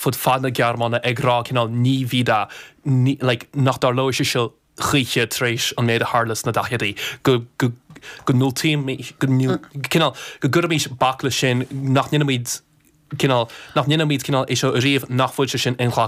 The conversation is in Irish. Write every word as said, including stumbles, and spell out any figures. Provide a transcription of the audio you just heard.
fud fad na Gearmáine ag rá cineál nie wieder like, nach dtarlóidh sé seo choíche tar éis an méid a tharla sna daicheadaí go go go cineál go gcuirimid bac leis sin nach ndéanfaimid cineál nach ndéanfaimid cineál é seo riamh nach bhfuil sé sin inghlactha